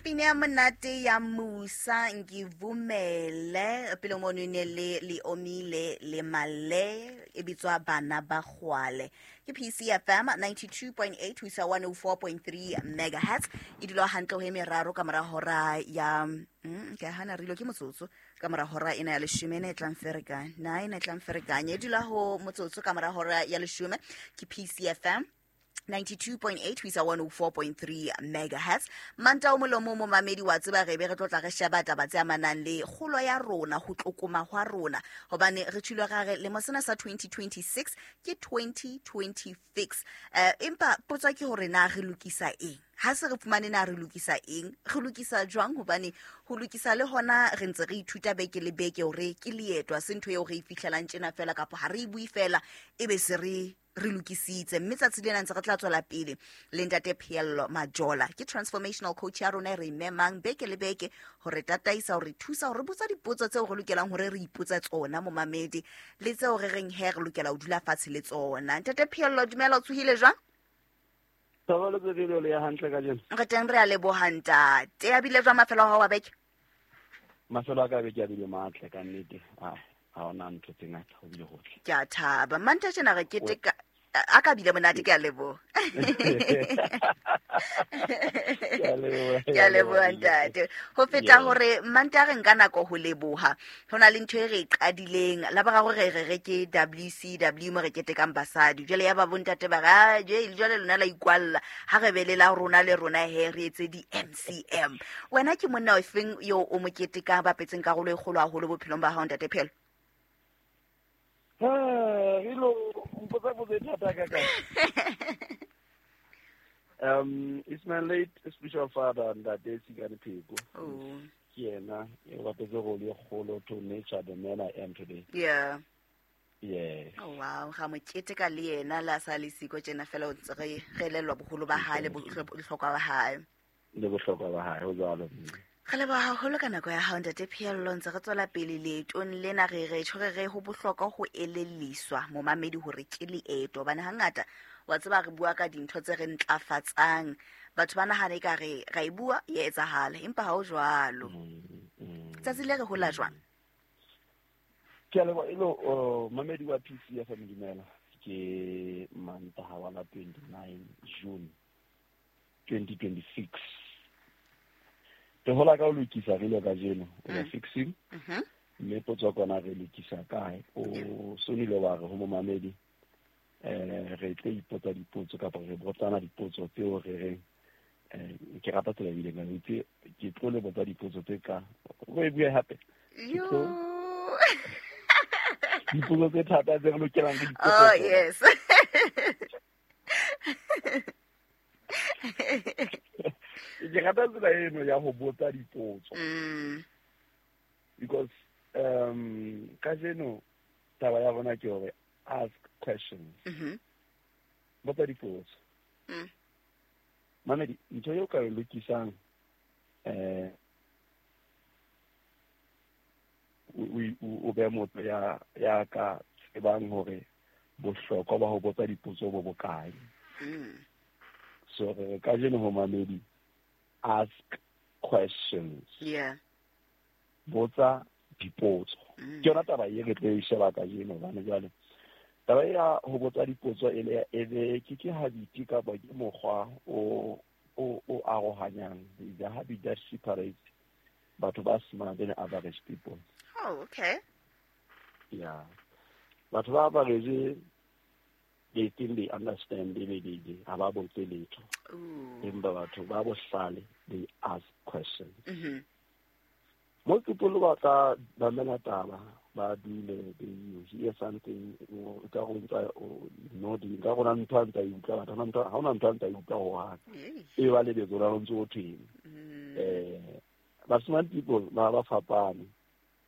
Pina ya monate ya Musa Ngivumele pele mono e ne le Leomile le Male e bitswa Bana ba Kgwale. Ke PCFM 92.8 ho isa 104.3 megahertz e dula hantle ho e meraro ka mora hora ya ke hana re ilo ke motsotso ka mora hora ena ya leshome ena e tlang ferekanya na ena e tlang ferekanya e dula ho motsotso ka mora hora ya leshome. Ke PCFM 92.8 ho isa 104.3 megahertz. Manta o molomo momamedi wa tseba re be re tlo tla re sheba taba tse amanang le kgolo ya rona, ho tlokoma hwa rona, hobane re tshilwe ra re lemo sena sa 2026 ke 2026. Empa potso ke hore na re lokisa eng? Ha se re fumane na re lokisa eng, re lokisa jwang? Hobane ho lokisa le hona re ntse re ithuta beke le beke hore ke leeto, ha se ntho eo re e fihlelang tjena fela, kapa ha re e bue fela ebe se re lokisitse. Mme tsatsi lena ntse re tla tswela pele le ntate Pheello Majola, ke transformational coach ya rona e re memang beke le beke hore tataisa, hore thusa, hore botsa dipotso tseo re lokelang hore re ipotse tsona momamedi, le tseo re reng he re lokela ho dula fatshe le tsona. Ntate Pheello, dumela, o tsohile jwang? Thabelo le ya hantle kajeno. Re teng, re a leboha ntate. A bile jwang mafelo a hao a beke? Mafelo a ka beke a bile matle ka nnete. Ha hona ntho tse ngata, ho bile hotle. Ke a thaba. Manta tjena re keteka a ka bile monate, ke a leboha. Ke a leboha ntate. Ho feta hore manta re nka nako ho leboha, ho na le ntho e re e qadileng la boraro re re ke WCW mo re ketekang basadi. Jwale ya ba bontate ba re jwale lona la ikwalla, ha re be le la rona le rona he re etse di-MCM. Wena ke monna ofeng yo o mo ketekang bapetseng karolo e kgolo haholo bophelong ba hao ntate Phelo? Rilo mpotsa potso e thata ka ka. It's my late spiritual father, Ntate Tsikane Pheko. Oh. Ke yena e bapetse role e kgolo to nature the man I am today. Yeah. Yeah. Oh wow, ga mo keteka le yena la sa le siko tjena fela o ntse re elellwa boholo ba hae le bohlokwa ba hae. Le bohlokwa ba hae, ho jwalo. Re leboha haholo ka nako ya hao ntate Pheello, ntse re tswela pele leetong lena re re tjho re re ho bohlokwa ho elelliswa momamedi hore ke leeto, hobane hangata wa tseba re bua ka dintho tse re ntlafatsang, batho ba nahana ekare ra e bua e etsahala, empa ha ho jwalo. Tsatsi le re hola jwang? Ke a leboha elo mamedi wa PCFM, dumela. Ke Mantaha wa la 29 June 2026. Re hola ka ho lokisa re ile kajeno, we are fixing. Mme potso kona re lokisa kae? O sonile wa re ho momamedi re tle ipotsa dipotso kapa re botsana dipotso tseo re reng ke rata tsela ebile ka itse ke tlo le botsa dipotso tse ka o e bue hape. Dipotso tse thata tse re lokelang re dipotso. Oh yes. Ke rata tsela eno ya ho botsa dipotso. Because kajeno taba ya rona ke hore ask questions. Botsa dipotso. Mamedi, ntho eo ka e lokisang o be motho ya ka tsebang hore bohlokwa ba ho botsa dipotso bo bokae. So re kajeno ho mamedi, ask questions. Yeah. Botsa dipotso. Ke yona taba e re tlo e sheba kajeno, hobane jwale taba ya ho botsa dipotso e le ebe ke habit kapa ke mokgwa o arohanyang, the habit that separates batho ba smart and average people. Oh, okay. Yeah. Batho ba average, they think they understand, they ha ba botse letho. Empa batho ba bohlale, they ask questions. Most people ba tla mamela taba, ba dule, they hear something, ka go ntsa nodding, ka gona ntho a ntsa e utlwa, batho ha hona ntho a ntsa e utlwa ho hang. E ba lebetse la ntse o thweng. But smart people ba fapane.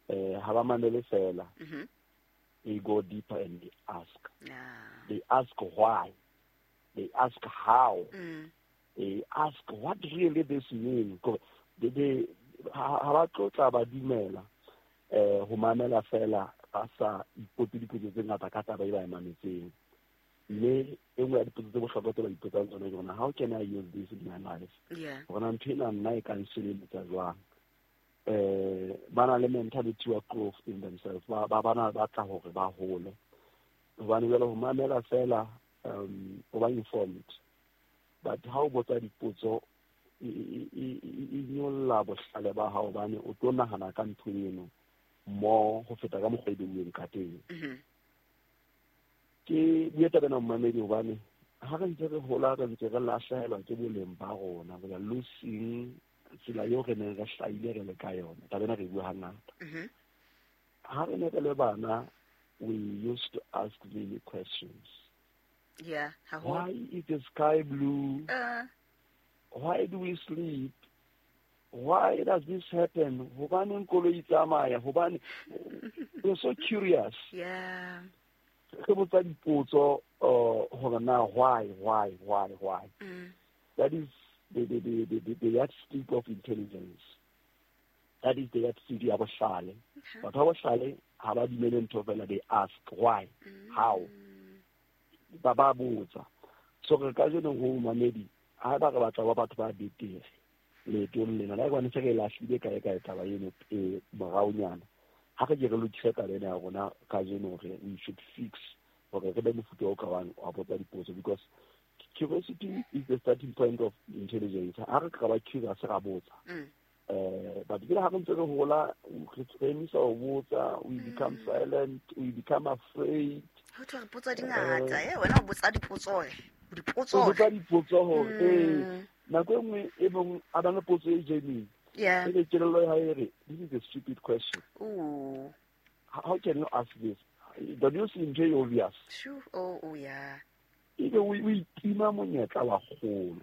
Ha ba mamele fela. They go deeper and they ask. Yeah. They ask why. They ask how. They ask what really this means. They ha ba tlotla ba dumela ho mamela fela ba sa ipotse dipotso tse ngata ka taba e ba e mametseng. Mme e nngwe ya dipotso tse bohlokwa tse ba ipotsang tsona ke hore how can I use this in my life? Hore na ntho ena nna e ka nsebeletsa jwang? Ba na le mentality wa growth in themselves. Ba ba batla hore ba hole. Hobane jwale ho mamela fela, o ba informed. But ha o botsa dipotso, e nyolla bohlale ba hao, hobane o tlo nahana ka ntho eno more ho feta ka mokgwa e beuweng ka teng. Ke bue taba ena, momamedi, hobane ha re ntse re hola, re ntse re lahlehelwa ke boleng ba rona. We are losing tsela eo re neng re hlahile re le ka yona. Taba ena re e bua hangata. Ha re ne re le bana, we used to ask many questions. Yeah, haholo. Why is the sky blue? Why do we sleep? Why does this happen? Hobaneng koloi e tsamaya? Hobane we're so curious. Re botsa dipotso, hore na why, why, why, why. That is the yardstick of intelligence. That is the yardstick ya bohlale. Batho ba bohlale ha ba dumele ntho fela, they ask why, how. Ba ba botsa. So re kajeno ho mamedi, ha ba re batla ba batho ba betere leetong lena, la hobane se re lahlile kae kae taba eno e moraonyana. Ha re ke re lokise taba ena ya rona kajeno, hore we should fix hore re be mofuta o ka wang wa botsa dipotso, because curiosity is the starting point of intelligence. Ha re ka ba curious, ra botsa. But ke ha re ntse re hola, re emisa ho botsa, we become silent, we become afraid. Ho thwe re potso di ngata, wena o botsa dipotso, dipotso. O botsa dipotso hore, nako e nngwe e mong a ba le potso e genuine. E be kelello ya hae e re, this is a stupid question. Ooh. How can you ask this? Don't you see ntho e obvious? Sure. Oh, oh, yeah. Ebe o itima monyetla wa kgolo.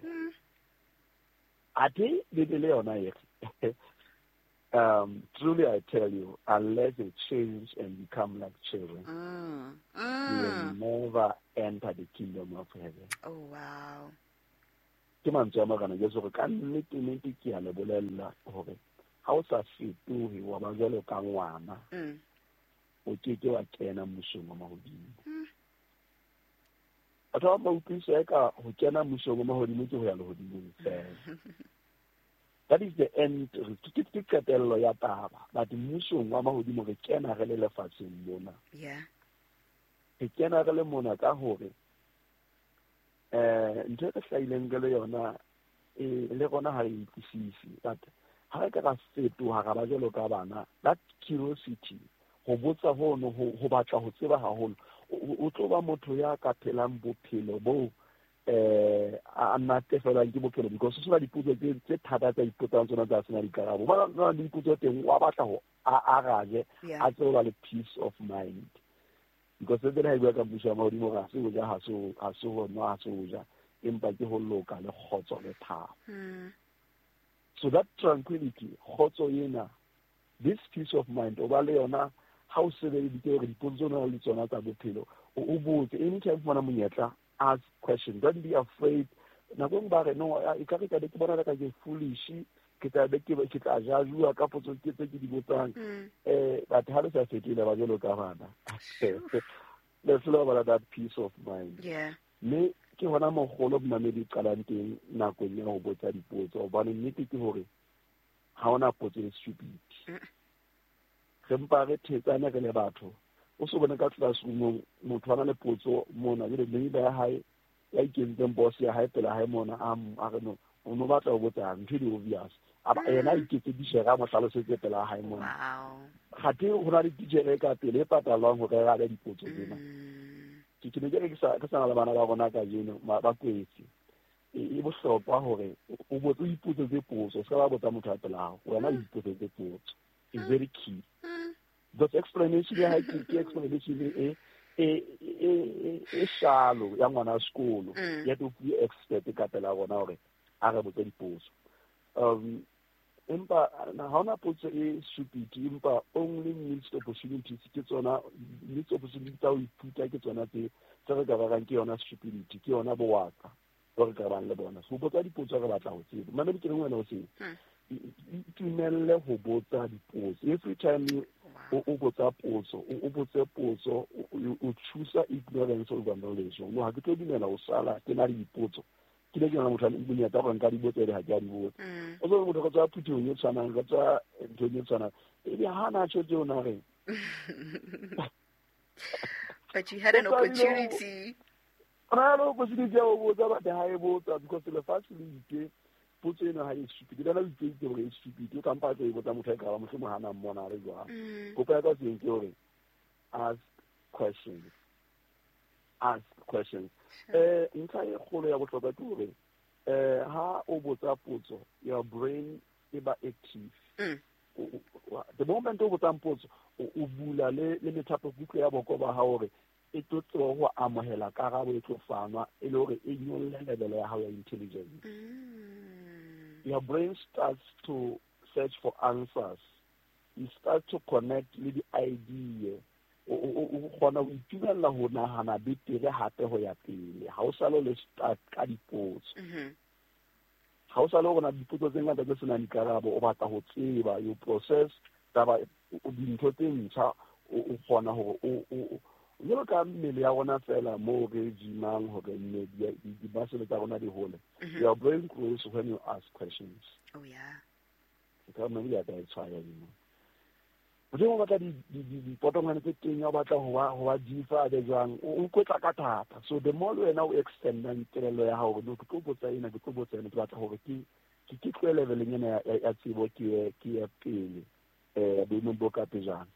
Athe Bibele yona e re, truly I tell you, unless you change and become like children, you will never enter the kingdom of heaven. Oh, wow. Ke mantswe a Morena Jesu hore ka nnete nnete ke a le bolella hore ha o sa fetohe wa ba jwalo ka ngwana, o ke ke wa kena mmusong wa mahodimo. Batho ba ba utlwisisa eka ho kena mmusong wa mahodimo ke ho ya lehodimong fela. That is the end. Ke qetello ya taba. But mmusong wa mahodimo re kena re le lefatsheng mona. Re kena re le mona ka hore, ntho e re hlahileng re le yona, le rona ha re utlwisise. But ha re ka ra fetoha ra ba jwalo ka bana, that curiosity, ho botsa hono, ho batla ho tseba haholo, o tlo ba motho ya ka phelang bophelo bo, a natefelwang ke bophelo, because ho sena dipotso tse thata tsa ipotsang tsona tsa sena dikarabo. Ba na le dipotso teng, wa batla ho a arabe, a tsebe ba le peace of mind. Because se ha e bua ka mmuso wa mahodimo, ha se ho ja, ha se ho nwa, ha se ho ja, empa ke ho loka le kgotso le thabo. So that tranquility, kgotso ena, this peace of mind, o ba le yona ha o sebeleditse hore dipotso tseo o nang le tsona tsa bophelo, o botse. Anytime o fumana monyetla, ask question. Don't be afraid. Nako e nngwe ba re, no, e ka re ka be ke bona ka ke foolish, ke tla be ke tla jajuwa ka potso ke tse ke di botsang. But ha le sa fetohile ba jwalo ka bana. Le selo ba that peace of mind. Mme ke hona mogolo momamedi e qalang teng nakong ya ho botsa dipotso, hobane nnete ke hore ha hona potso e stupid. Re mpa re thetsane re le batho. O so bone ka classroom-ong motho a na le potso mona, jwale neighbor ya hae ya ikentseng boss ya hae pela hae mona, a re no, o no batla ho botsa ntho e di obvious. A ba, yena a iketse titjhere a mo hlalosetse pela hae mona. Wow. Kgathe ho na le titjhere e ka pele e patalwang hore e arabe dipotso tsena. Ke ne ke re ke sa na le bana ba rona kajeno, ba kwetse. E bohlokwa hore o botse, o ipotsetse potso, o ska ba botsa motho a pela hao, wena o ipotsetse potso. It's very key. Because explanation ya hae ke explanation e shallow ya ngwana wa sekolo. Ya tlo fuwe expert ka pela rona hore a re botse dipotso. Empa ha hona potso e stupid, empa only missed opportunities ke tsona, missed opportunities tsa ho ithuta ke tsona tse re ka rerang ke yona stupidity, ke yona bowatla bo re ka bang le bona. So botsa dipotso re batla ho tseba. Mamedi ke reng wena o seng? Itumelle ho botsa dipotso. Every time you O botsa potso, o botse potso, o choose ignorance over knowledge. No, ha ke tlo dumela ho sala ke na le dipotso. Ke le ke na motho a monyetla gore nka di botsa le ha ke a di botsa. O tsebe motho ka tswa phuthehong e tshwanang, ka tswa nthong e tshwanang. Ebe ha na tjho tseo na reng. But you had an opportunity. Ona le opportunity ya ho botsa, but ha e botsa because lefatshe le itse potso ena ha e stupid. Le na o itse hore e stupid, o kampa a tlo e botsa motho a e ka ba mohlomong ha na mmona a le jwang. Kopo ya ka teng ke hore ask questions. Ask questions. Ntlha e kgolo ya bohlokwa ke hore ha o botsa potso, your brain e ba active. The moment o botsang potso, o bula le methapo kutlo ya boko ba hao hore e tlo tseba ho amohela karabo e tlo fanwa, e le hore e nyolle level ya hao ya intelligence. Your brain starts to search for answers. You start to connect le di-idea. O kgona ho itumella ho nahana betere hape ho ya pele. Ha o sale o le start ka dipotso. Ha o sale o bona dipotso tse ngata tse senang dikarabo, o batla ho tseba, you process taba, dintho tse ntjha, o kgona hore o jwalo ka mmele ya rona fela moo re gymang hore mme di-muscle tsa rona di hole. Your brain grows when you ask questions. Oh yeah. Ka mme ya ka e tshwaya dimo. Motho o batla dipotongwane tse teng, o batla ho ba jifa a be jwang, o kwetla ka thata. So the more wena o extendang kelello ya hao hore ke tlo botsa ena, ke tlo botsa ena, ke batla hore ke tlohe leveleng ena ya tsebo, ke ye pele, boemong bo ka pejana.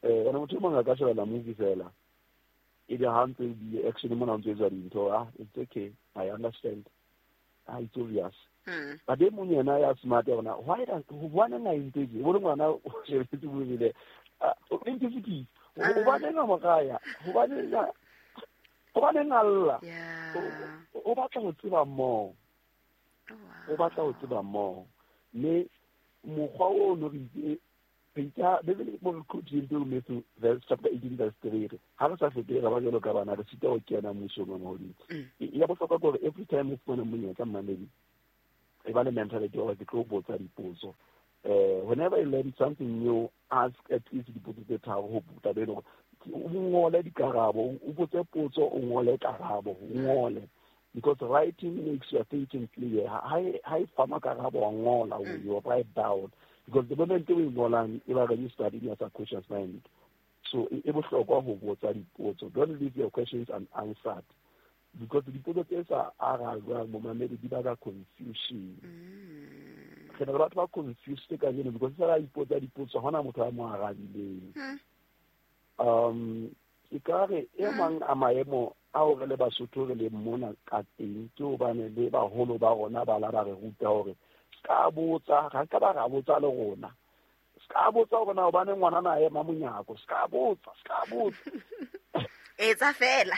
Ene motho e mong a ka shebella movie fela, ebe ha ntse di-action mona ntse etswa dintho, it's okay, I understand, it's obvious. But e mong yena ya smart ya bona, why does hobaneng a entse tje? O bone ngwana o shebelletse movie le, o entse tje? Hobaneng a mo raya? Hobaneng a lla? O batla ho tseba more. O batla ho tseba more. Mme mokgwa o no re itse, re itse, Bibele mo re quote-ileng pele Matthew verse chapter 18 verse 3 re, ha re sa fetohe ra ba jwalo ka bana, re sita ho kena mmusong wa mahodimo. Ya bohlokwa ke hore every time o fumana monyetla, mmamedi, e ba le mentality ya hore ke tlo botsa dipotso. Whenever you learn something new, ask at least dipotso tse tharo ho taba eno hore o ngole dikarabo, o botse potso, o ngole karabo, o ngole. Because writing makes your thinking clear. Ha e fanwa karabo wa ngola, you write down. Because the moment o e ngolang, e ba registered in your subconscious mind. So e bohlokwa ho botsa dipotso. Don't leave your questions unanswered. Because dipotso tse sa arajwang momamedi di baka confusion. Re na le batho ba confused kajeno because sa ba ipotsa dipotso, ha hona motho a mo arabileng. E ka re e mang a maemo ao re le Basotho re le mona ka teng ke hobane le baholo ba rona ba la ba re ruta hore ska botsa, ga ka ba ra botsa le rona. Ska botsa hore na hobane ngwana na ema monyako, ska botsa, ska botsa. Etsa fela.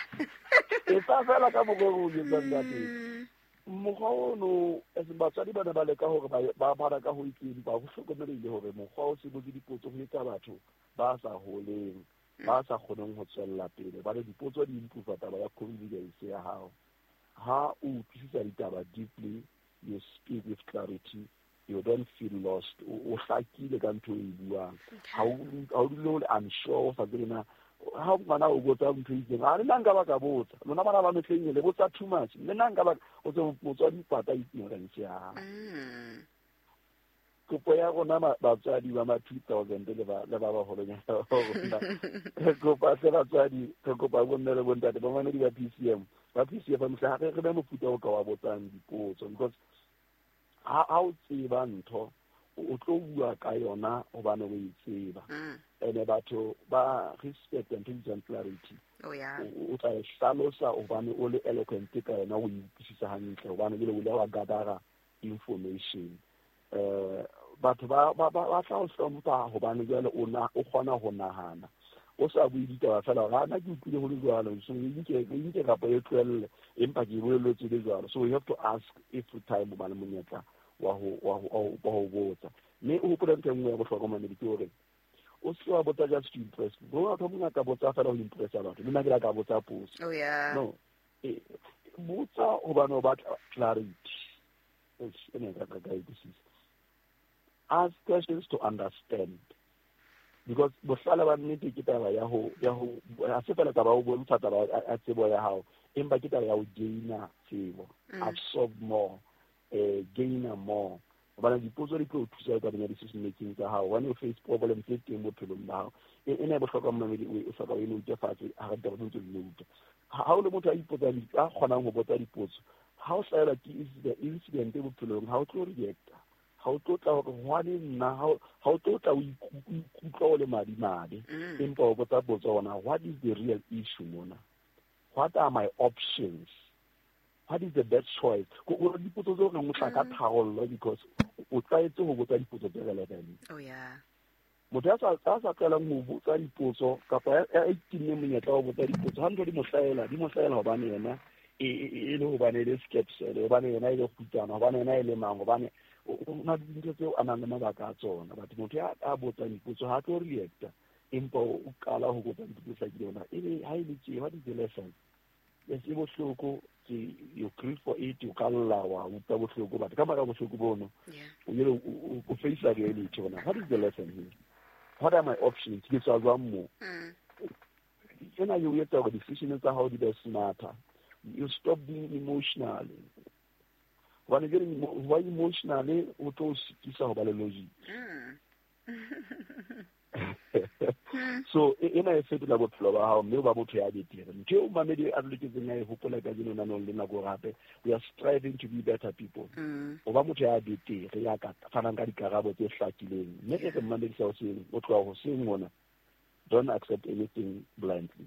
Etsa fela ka mokgwa o etsang ka teng. Mokgwa ono, as batswadi ba ne ba leka hore ba bala ka ho itseng, ba ho hlokomelehile hore mokgwa o se botse dipotso ho etsa batho ba sa holeng, ba sa kgoneng ho tswella pele. Ba re dipotso di improve taba ya confidence ya hao. Ha o utlwisisa ditaba deeply, you speak with clarity, you don't feel lost. O hlakile ka ntho e buang. Ha o dule o le unsure, o sa tsebe na ha ngwana o botsa ntho e itseng, a le nna nka ba ka botsa. Lona bana ba mehleng le botsa too much. Le nna nka ba, o tsebe motswadi pata ignorance ya hao. Kopo ya rona batswadi ba ma 2000 le ba, le ba baholonyana ba rona. Re kopa hle batswadi, re kopa bomme le bontate, ba mamedi ba PCM. Ba PCM mohla ha re be mofuta o ka wa botsang dipotso, because ha o tseba ntho, o tlo bua ka yona hobane o e tseba. Ene batho ba respect ntho e bitswang clarity. Oh, yeah. O tla e hlalosa hobane o le eloquent ka yona, o e utlwisisa hantle hobane jwale o ile wa gather information. Batho ba tla o hlompha hobane jwale o kgona ho nahana. O sa bue ditaba fela hore, nna ke utlwile ho le jwalo, so e nke kapa e tlohelle, empa ke e bolelletswe le jwalo. So you have to ask every time o ba le monyetla wa ho botsa. Mme o hopole ntho e nngwe ya bohlokwa mamedi ke hore o se wa botsa just to impress. Bo batho ba bangata botsa fela ho impressa batho. Le nna ke la ka botsa potso. Oh, yeah. No. Botsa hobane o batla clarity. Eish, e ne ka ka utlwisisa. Ask questions to understand. Because bohlale ba nnete ke taba ya ho ha se fela taba ya ho bontsha taba ya tsebo ya hao, empa ke taba ya ho gaina tsebo, absorb more, gaina more. Hobane dipotso di tlo o thusa tabeng ya decision making tsa hao, hobane o face problem tse teng bophelong ba hao. Ena e bohlokwa mmamedi, o hloka o e note fatshe ha re ditaba tse ntse di note. Ha o le motho a ipotsang, a kgonang ho botsa dipotso, ha o hlahelwa ke incident bophelong, ha o tlo reacta, ha o tlo tla hore hwane nna, ha o tlo tla o ikutlwa o le madimabe, empa o botsa potso hona, what is the real issue mona? What are my options? What is the best choice? Ko dipotso tseo reng o tla ka tharollo, because o tlwaetse ho botsa dipotso tse relevant. Oh yeah. Motho ya sa tlwaelang ho botsa dipotso kapa ya itimme monyetla wa ho botsa dipotso, ha ntho di mo hlahela hobane yena e le hobane e le skepsele, hobane yena e le kgutsana, hobane yena e le mang, hobane o na le dintho tseo a nang le mabaka a tsona. But motho ya a botsang dipotso ha tlo reacta, empa o qala ho botsa dipotso tse hlakileng hore ebe ha e le tje, what is the lesson? Yes, e bohloko, you grieve for it, o ka lla wa utlwa bohloko, but ka mora bohloko bono, o ile o face reality hore what is the lesson here? What are my options? Ke tswa jwang mo? Ena e o etsa hore decision tsa hao di be smarter. You stop being emotional. Hobane jwale ho ba emotional o tlo o sitisa ho ba le logic. So ena e fetola bophelo ba hao, mme o ba motho ya betere. Ntho eo mamedi a loketseng a e hopola kajeno nanong le nako hape, we are striving to be better people. O ba motho ya betere, ya ka fanang ka dikarabo tse hlakileng. Mme ke re mamedi sa hoseng, o tloha hoseng mona, don't accept anything blindly.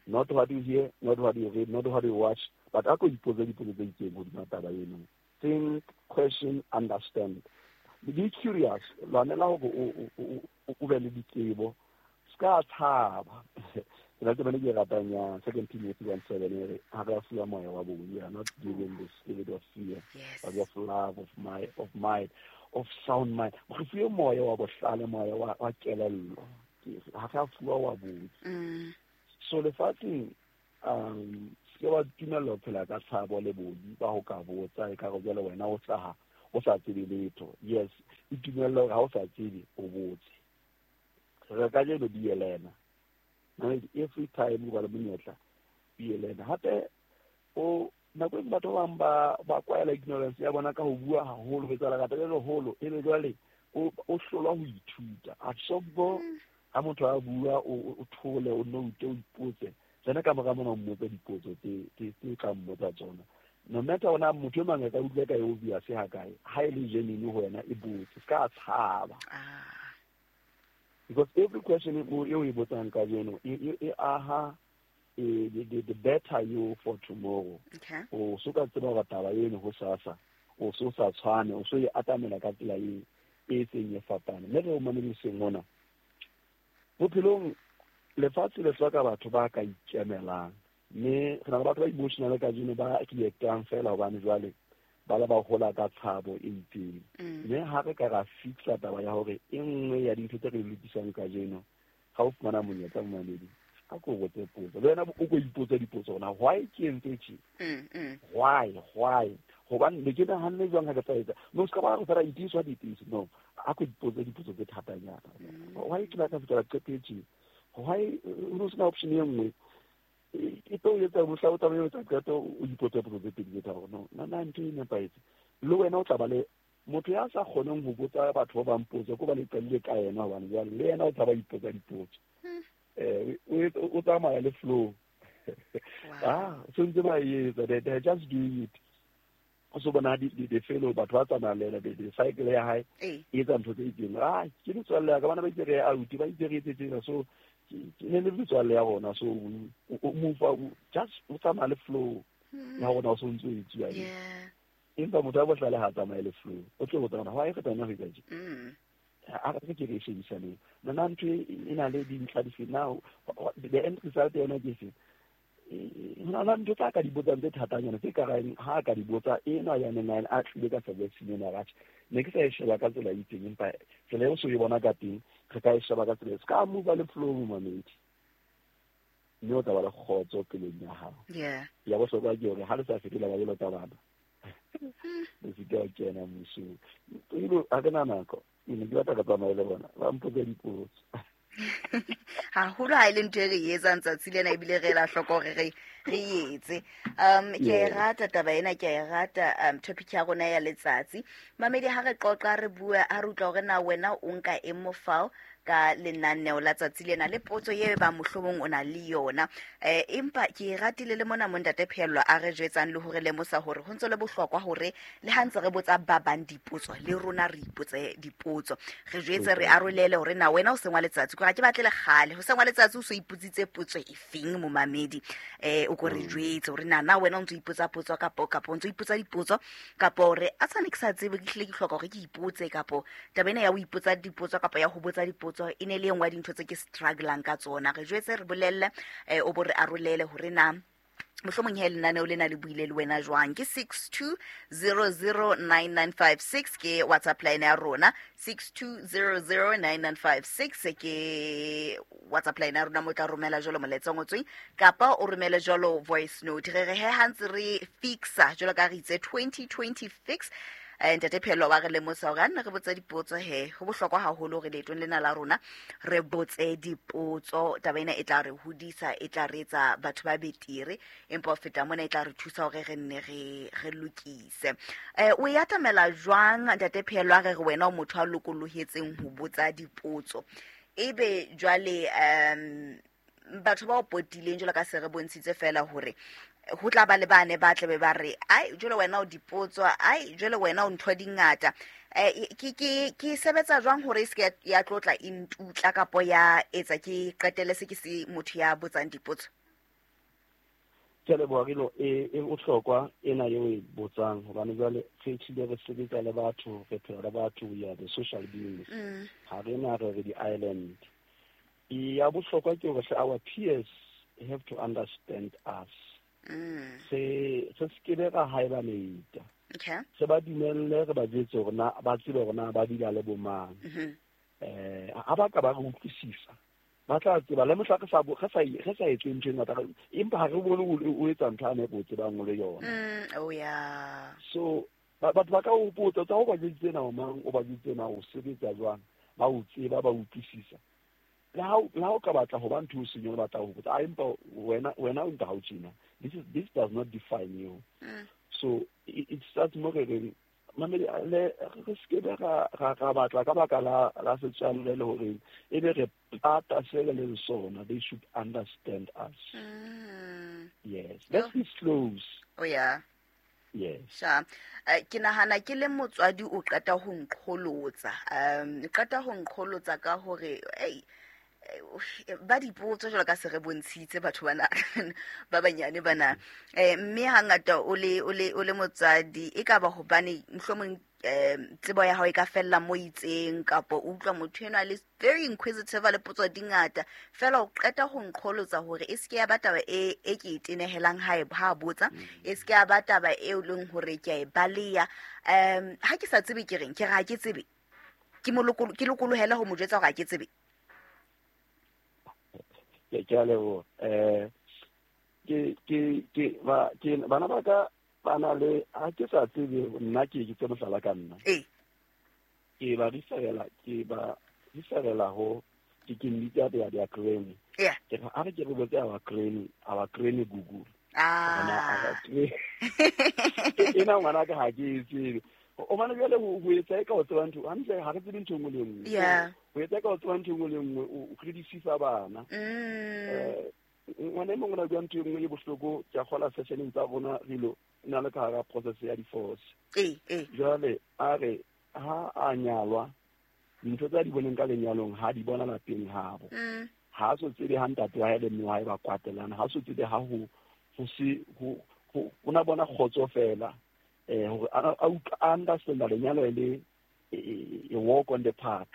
Not what you hear, not what you read, not what you watch, but a ko ipotse dipotso tse itseng hodima taba eno. Think, question, understand. Be curious. Lwanela hore o be le ditsebo. Ska tshaba. Ke la tsebane ke ratang ya 2 Timothy 1:7 e re ha re a fuwa moya wa bong. We are not given the spirit of fear, but of love, of might, of sound mind. Re fuwe moya wa bohlale, moya wa kelello. Ha re a fuwa wa bong. So lefatsheng, se wa dumella ho phela ka tshabo le bodi ba ho ka botsa e ka re jwale wena o hlaha o sa tsebe letho. Yes, e dumella hore ha o sa tsebe o botse. Re ka jeno be a learner. Every time o ba le monyetla, be a learner. Hape o nako e batho ba bang ba kwaela ignorance ya bona ka ho bua haholo, ho etsa lerata le leholo, ebe jwale o hlolwa ho ithuta. Absorb ha motho a bua, o thole, o note, o ipotse. Tsena ka mora mona o mmotsa dipotso tse tla mmotsa tsona. No matter ona motho e mang a ka utlwa ka e obvious ha kae, ha e le genuine ho wena e botse, se ka tshaba. Because every question eo e botsang kajeno e aha the better you for tomorrow. O so ka tseba hore taba eno ho sasa, o so sa tshwane, o so e atamela ka tsela e seng e fapane. Mme re o mamediseng mona, bophelong lefatshe le hloka batho ba ka ikemelang. Mme re na le batho ba emotional kajeno ba reactang fela hobane jwale ba le ba hola ka tshabo e itseng. Mme ha re ka ra fixa taba ya hore e nngwe ya dintho tse re di lokisang kajeno, ha o fumana monyetla momamedi, a ko botse potso. Le wena o ko ipotse dipotso hore na why ke entse tje? Why? Hobane ne ke nahanne jwang ha ke tla etsa? No, se ka ba re fela it is what it is. No, a ko ipotse dipotso tse thatanyana. Why ke batla fihlela qeto e tje? Why o no sena option e nngwe? E tlo etsa mohla o tla o etsa qeto, o ipotse potso tse pedi tse tharo. No, nna ntho e nepahetse. Le wena o tla ba le motho ya sa kgoneng ho botsa batho ba bang potso, ko ba le qadile ka yena hobane jwale le yena o tla ba ipotsa dipotso. O tsamaya le flow. So ntse ba etsa, they just doing it. O so bona di fellow batho ba tsamaya le yena, the cycle ya hae e etsa ntho tse itseng. Ke metswalle ya ka, bana ba itse re out, ba itse re etse tjena, so ke ne le metswalle ya rona, so o move, just o tsamaya le flow ya rona, o so ntse o etsuwa. Empa motho a bohlale ha tsamaye le flow, o tlo botsa hore why re tsamaya ho etsa tje? A re ke re shebisaneng. Nna ntho e na le dintlha dife? Now the end result yona ke efe? Ho na le ntho tsa ka di botsang tse thatanyana, tse ka reng ha ka di botsa enwa ya neng a tlile ka suggestion ena, atjhe ne ke sa e sheba ka tsela e itseng, empa tsela eo so e bona ka teng re ka e sheba ka tsela e. Se ka move le flow momamedi, mme o tla ba le kgotso pelong ya hao. Ya bohlokwa ke hore ha le sa fetola ba jwalo ka bana, le se ke wa kena mmusong. Ebile ha ke na nako. Ke ne ke batla ka tsamaya le bona, ba mpotsa dipotso. Haholo ha e le ntho e re e etsang tsatsi lena, ebile re ela hloko hore re etse. Ke a e rata taba ena, ke a e rata topic ya rona ya letsatsi. Mamedi, ha re qoqa re bua, ha re utlwa hore na wena o nka eng mofao ka lenaneo la tsatsi lena le potso e ba mohlomong o na le yona. Empa ke e ratile le mona mo Ntate Phehello a re jwetsang le hore lemosa hore ho ntse le bohlokwa hore le ha ntse re botsa ba bang dipotso, le rona re ipotse dipotso. Re jwetse, re arolele hore na wena o sengwa letsatsi, ke ga ke batle le kgale ho sengwa letsatsi o so ipotsitse potso e feng momamedi. O ko re jwetse hore na na wena o ntso ipotsa potso kapo o ntso ipotsa dipotso, kapo hore a tshwane ke sa tsebe, ke hlile ke hloka hore ke ipotse, kapo taba ena ya ho ipotsa dipotso kapa ya ho botsa dipotso e ne le e nngwe ya dintho tse ke strugglang ka tsona. Re jwetse, re bolelle, o bo re arolele hore na mohlomong he lenaneo lena le buile le wena jwang. Ke 62009956 ke WhatsApp line ya rona, 62009956 ke WhatsApp line ya rona, mo tla romela jwalo molaetsa o ngotsweng kapa o romele jwalo voice note. Re re he ha ntse re fixa jwalo ka re itse 2020 fix. Ntate Phehello wa re lemosa hore a nne re botse dipotso he, ho bohlokwa haholo hore leetong lena la rona re botse dipotso. Taba ena e tla re hodisa, e tla re etsa batho ba betere, empa ho feta mona e tla re thusa hore re nne re lokise. O e atamela jwang Ntate Phehello, a re re wena o motho a lokolohetseng ho botsa dipotso, ebe jwale batho ba o potileng jwalo ka se re bontshitse fela hore ho tla ba le bane ba tlabe ba re ai jwale wena o dipotso, ai jwale wena o ntho di ngata. Ke sebetsa jwang hore e se ke ya tlotla e ntutla kapo ya etsa ke qetelle se ke se motho ya botsang dipotso? Ke a leboha Rilo, e bohlokwa ena eo e botsang, hobane jwale re tlile re sebetsa le batho, re phela le batho, we are the social beings. Ha re na re re di-island. Ya bohlokwa ke hore our peers have to understand us. Se se ke be ra hibernate. Se ba dumelle, re ba jwetse hore na ba tsebe hore na ba dula le bomang. Ha ba ka ba re utlwisisa, ba tla tseba le mohla re sa etse ntho e ngata, empa ha re bone o etsa ntho a nepo o tsebang o le yona. So batho ba ka o botsa tsa o ba jwetse na o mang, o ba jwetse na o sebetsa jwang, ba o tseba, ba utlwisisa. Le ha o ka batla ho ba ntho o seng o batla ho botsa, empa wena o nka ha o tjena. This does not define you. So it starts mo re reng mamedi le re se ke ra batla ka baka la setswalle le hore e be re pata se re leng sona. They should understand us. Yes, let's be close. Oh yeah. Yes. Sha, ke nahana ke le motswadi o qeta ho nqholotsa. Qeta ho nqholotsa ka hore ei ba dipotso jwalo ka se re bontshitse batho bana ba banyane bana. Mme hangata o le motswadi e ka ba hobane mohlomong tsebo ya hao e ka fella mo itseng, kapa o utlwa motho enwa le very inquisitive le potso di ngata fela o qeta ho nqholotsa hore e se ke ya ba taba e ke e tenehelang ha ha botsa, e se ke ya ba taba e leng hore ke a e baleya. Ha ke sa tsebe ke reng, ke re ha ke tsebe, ke ke lokolohela ho mo jwetsa hore ha ke tsebe. Ke a leboha. Ke bana ba ka ba na le ha ke sa tsebe nna ke ke tse mohlala ka nna. Ke ba riferela ho ke mmitsa ya dia granny. Ke re a re ke re botse our granny Google. Ena ngwana ka ha ke e tsebe. O bana jwale ho etsa e ka o tseba ntho hantle, ha re tsebe ntho e nngwe le nngwe. Ho etsa ka o tseba ntho e nngwe le nngwe, o creditisa bana. Ngwana e mongwe o na bua ntho e nngwe e bohloko, ke a kgola sessioneng tsa rona Rilo, na le ka hara process ya divorce. Jwale a re ha a nyalwa, dintho tsa di boneng ka lenyalong ha di bona lapeng habo. Ha so tsebe ha ntate wa hae le mme wa hae ba kwatelana, ha so tsebe ha ho se ho ona bona kgotso fela. Hore a understand lenyalo le a walk on the park.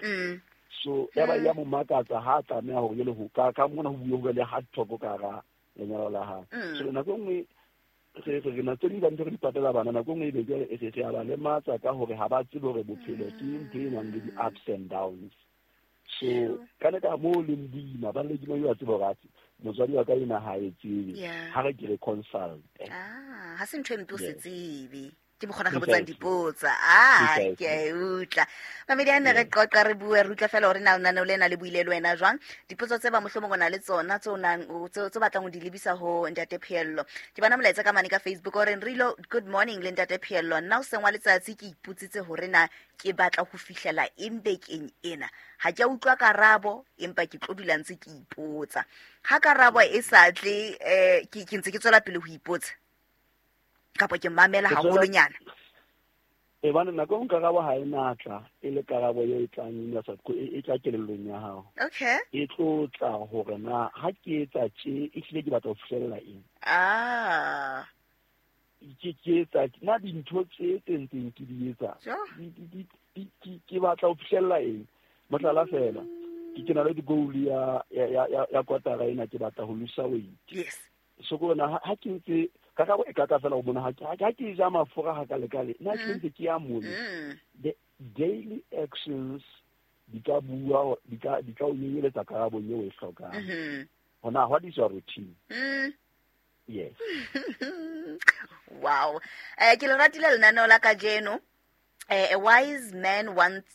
So ya ba ya mo makatsa ha tlameha hore le ho ka mona ho bue le hard talk ka ra lenyalo la hae. So nako nngwe re na tse ding tsa ntho re di patela bana, nako nngwe e be re a ba lematsa ka hore ha ba tsebe hore bophelo ke ntho e nang le di-ups and downs. So ka le ka moo leng boima ba le ke mo a tsebe hore atse motswadi wa ka ena ha e tsebe, ha re ke re consult. Ha se ntho e mpe o se tsebe. Ke mokgona re botsang dipotsa. Ah, ke a e utlwa. Mamedi a ne re qoqa re bue re utlwa fela hore na lenaneo lena le buile le wena jwang. Dipotso tse ba mohlomong o na le tsona tse o nang tse batlang ho di lebisa ho Ntate Pheello. Ke bona molaetsa ka mane ka Facebook o reng Rilo, good morning le Ntate Pheello. Nna o seng wa letsatsi ke ipotsitse hore na ke batla ho fihlela eng bekeng ena. Ha ke a utlwa karabo empa ke tlo dula ntse ke ipotsa. Ha karabo e sa tle ke ntse ke tswela pele ho ipotsa. Kapa ke mamela haholonyana. E bana nako e karabo ha e natla e le karabo e tlang e tla kelellong ya hao. Okay. E tlo tla hore na ha ke etsa tje e hlile ke batla ho fihlella eng. Ah. Ke etsa na dintho tse tse ntseng ke di etsa. Ke batla ho fihlella eng. Mohlala fela. Ke na le goal ya ya kwatara ena ke batla ho lose weight. Yes. So ko na ha ke ntse karabo e ka tla fela o bona ha ke ja mafura ha ka lekale nna ke ntse ke ya mole. The daily actions di ka bua di ka o nyenyeletsa karabo eo e hlokang. Hona what is your routine? Yes. Wow. Ke le ratile lenaneo la kajeno. A wise man once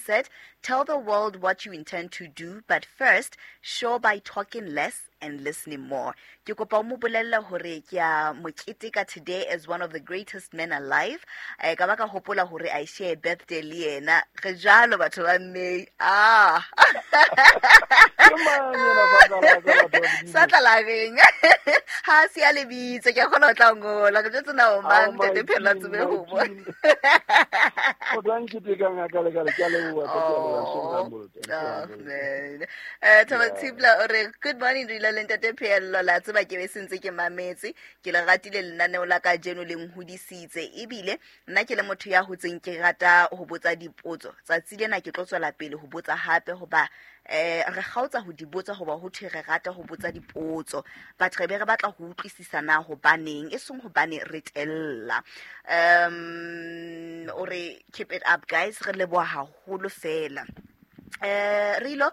said, tell the world what you intend to do, but first, show by talking less and listening more. Ke kopa o mo bolelle hore ke a mo keteka today as one of the greatest men alive. Ka ba ka hopola hore I share birthday le yena. Re jwalo batho ba May. Ah. Sa tla la reng. Ha se a lebitse ke kgona ho tla ngola. Ke jwetse na o mang Ntate Pheello tsebe ho bua. O tla nketeka ngaka le ka le ke a leboha. Oh, man. Thomas Tibla o re good morning Rilo le Ntate Pheello, la tseba ke be sentse ke mametse, ke le ratile lenaneo la kajeno le nhodisitse, ebile nna ke le motho ya hotseng ke rata ho botsa dipotso. Tsatsi lena ke tlo tswela pele ho botsa hape hoba re kgaotsa ho di botsa hoba ho thwe re rata ho botsa dipotso, but re be re batla ho utlwisisa na hobaneng, e seng hobane re tella. O re keep it up guys, re leboha haholo fela. Rilo,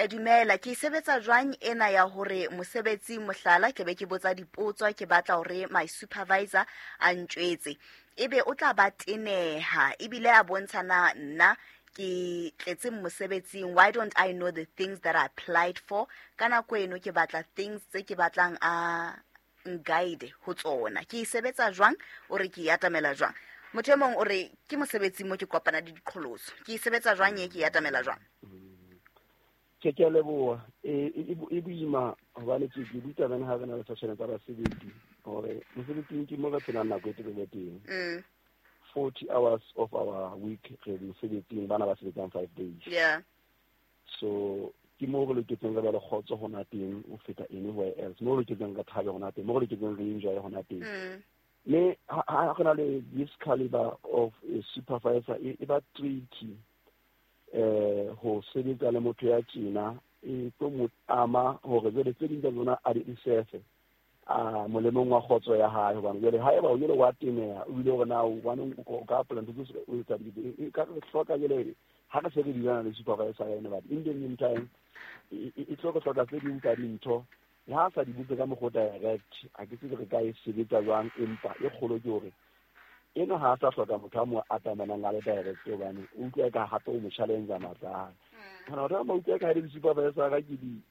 dumela, ke sebetsa jwang ena ya hore mosebetsi mohlala ke be ke botsa dipotso, ke batla hore my supervisor a ntjwetse, ebe o tla ba teneha ebile a bontsha na nna ke tletse mosebetsing. Why don't I know the things that I applied for? Ka nako eno ke batla things tse ke batlang a guide ho tsona. Ke sebetsa jwang? O re ke atamela jwang? Motho e mong o re ke mosebetsi mo ke kopana le diqholotso. Ke sebetsa jwang e ke atamela jwang? Ke ke leboha. E boima hobane ke butsa bana ha re na le session tsa basebetsi hore mosebetsing ke mo re phelang nako e telele teng. 40 hours of our week re mosebetsing, bana ba sebetsang 5 days. Yeah. So ke mo re loketseng re ba le kgotso hona teng ho feta anywhere else. Mo re loketseng re thabe hona teng, mo re loketseng re enjoy hona teng. Me ha re na le this caliber of a supervisor e ba tricky ho sebetsa le motho ya tjena, e tlo mo ama hore jwale tse ding tsa tsona a di sefe a molemong wa kgotso ya hae, hobane jwale haeba o jwale wa teneha o bile hore na hobane o ka apply ntho tse o etsa di ka re hloka jwale ha re se re dilana le supervisor ya ena, but in the meantime e tlo re hloka tse ding tsa dintho le ha sa di botse ka mokgwa direct, a ke tsebe re ka e sebetsa jwang, empa e kgolo ke hore ena ha sa hloka motho a mo atamanang a le direct, hobane o utlwa ka hape o mo challenge matla a hae. Hona batho ba utlwa ka ha di supervisor ka ke di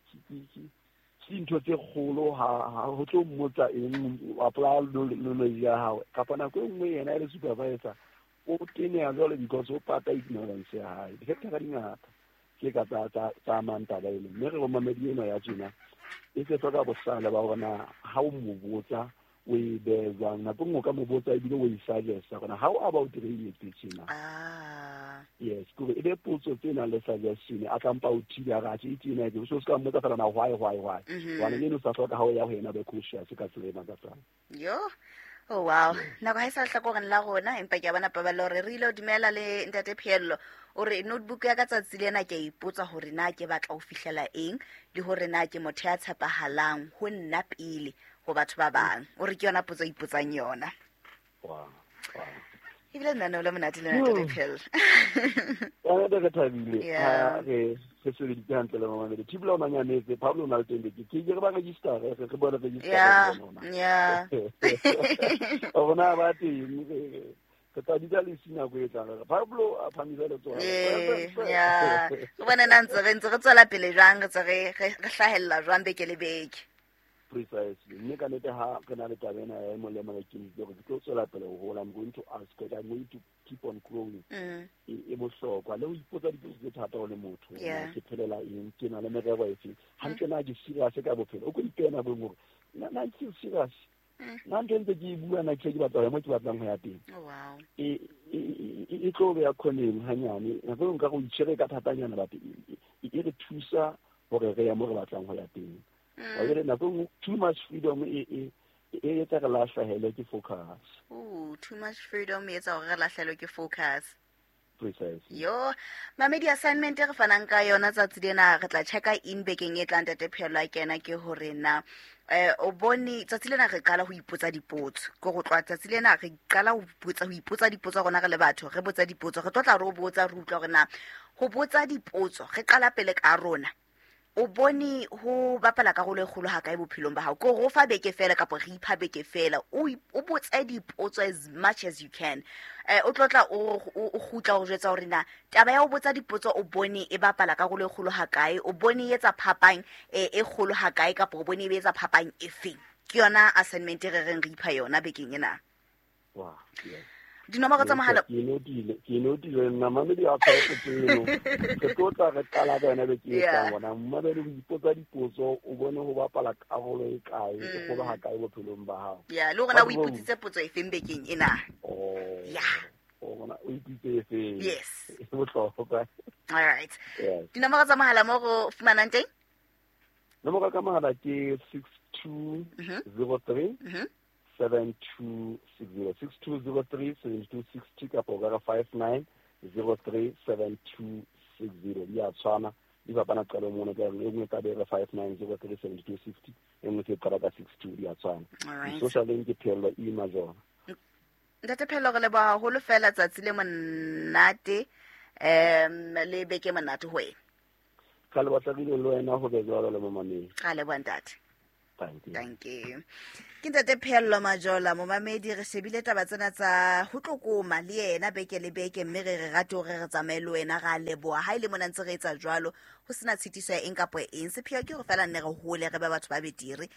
dintho tse kgolo ha ho tlo mmotsa eng, apply knowledge ya hao, kapa nako e nngwe yena e le supervisor o teneha jwale because o pata ignorance ya hae. Di-factor di ngata tse ka tsa amang taba ena, mme re momamedi ena ya tjena e se hloka bohlale ba hore na ha o mo botsa o e behe jwang. Nako e nngwe o ka mo botsa ebile o e suggest-a hore how about re e etse tjena. Yes, ke hore e be potso tse nang le suggestion, a tla mpa o thiba a re atjhe e tjena e so se ka mmotsa fela na why. Hobane eno sa hloka ha o ya ho yena be cautious ka tsela e makatsang. Yo. Oh wow. Nako ha e sa hlakoreng la rona, empa ke a bona paballo hore re ile ho dumela le Ntate Pheello. O re notebook ya ka tsatsi lena ke a ipotsa hore na ke batla ho fihlela eng le hore na ke motho ya tshepahalang ho nna pele ho batho ba bang. O re ke yona potso e ipotsang yona. Wow. Ebile lenaneo le monate le ntate Pheello. Ka re thabile ha re sebeditse hantle le mamamedi. Thibela o nanyametse, Pablo o na le teng beke. Ke re ba register, re bone register. Yeah. Rona ba teng, re tla bitsa le si nako e tlang. Pablo a phamisa letsoho. Yeah. Re bone na ntse re tswela pele jwang, re tse re hlahella jwang beke le beke. Precisely. Mme ka nnete ha re na le taba ena ya e mong le mong a ikemiseditse hore ke tlo tswela pele ho hola. I'm going to ask, I'm going to keep on growing. E bohlokwa le ho ipotsa dipotso tse thata o le motho. Ke phelela eng, ke na le merero efe. Hantle na ke serious ka bophelo. O ko ipehe nako e nngwe hore na ke serious. Nna ntho ntse ke e bua na ke batla ho ya mo ke batlang ho ya teng. E tlo beha khoneng hanyane. Nako e nka go itshwere ka thatanyana, but e re thusa hore re ya mo re batlang ho ya teng. Wa nako nngwe too much freedom e etsa re lahlehelwe ke focus. Ooh, too much freedom e etsa hore re lahlehelwe ke focus. Precisely. Yo, mamedi assignment e re fanang ka yona tsatsi lena re tla checka in bekeng e tlang ntate Pheello a kena ke hore na o bone tsatsi lena re qala ho ipotsa dipotso. Ke go tloha tsatsi lena re qala ho ipotsa dipotso rona re le batho, re botsa dipotso, re tlo tla re o botsa re utlwa hore na ho botsa dipotso re qala pele ka rona. O bone ho bapala karolo e kgolo ha kae bophelong ba hao? Ke hore o fa beke fela kapa re ipha beke fela, o botse dipotso as much as you can. O tlotla o kgutla o jwetsa hore na taba ya ho botsa dipotso o bone e bapala karolo e kgolo ha kae, o bone e etsa phapang e kgolo ha kae kapa o bone e etsa phapang efeng. Ke yona assignment e re reng re ipha yona bekeng ena. Wow, yes. Dinomoro tsa mohala ke notile nna mamedi a tshwara eno. Re tlo tla re qala ka yona beke e tlang bona. Mamedi o ipotsa dipotso, o bone ho bapala karolo e kae, e kgolo ha kae bophelong ba hao. Yeah, le hore na o ipotsitse potso efeng bekeng ena. Yeah. O bona o ipitse efeng. Yes. E bohlokwa. All right. Yes. Dinomoro tsa mohala mo go fumanang teng? Nomoro ka mohala ke 6203 7260 6203 7260 kapa o ka re 5903 7260. Di a tshwana, di fapana qalo mona ka e nngwe ka be re 5903 7260, e nngwe se qala ka 62, di a tshwana. Social link ke Pheello E Majola. Ntate Pheello, re leboha haholo fela tsatsi le monate, le beke monate ho wena. Ka le batla le wena ho be jwalo le momamedi. Ka leboha ntate. Thank you. Thank you. Ke ntate Pheello Majola, momamedi, re shebile taba tsena tsa ho tlokoma le yena beke le beke, mme re rate hore re tsamaye le wena, ra leboha. Ha ile mona ntse re etsa jwalo, ho sena tshitiso ya eng kapa eng. Sepheo ke hore fela nne re hole, re be batho ba betere.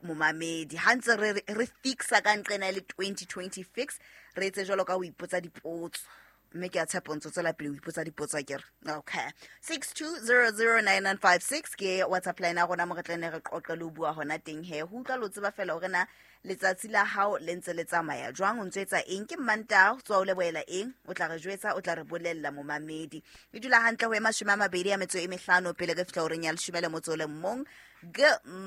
Momamedi, ha ntse re fixa ka nqena le 2020 fix, re etse jwalo ka ho ipotsa dipotso. Mme ke a tshepa ntse tswela pele ho ipotsa dipotso akere. Okay. 62009956 ke WhatsApp line ya rona mo re tla ne re qoqe le ho bua hona teng he. Ho utlwa lo tseba fela hore na letsatsi la hao le ntse le tsamaya jwang, o ntse etsa eng, ke Mmantaha, o tswa o lebohela eng, o tla re jwetsa, o tla re bolella momamedi. E dula hantle ho e 25 pele re fihla horeng ya 11. Good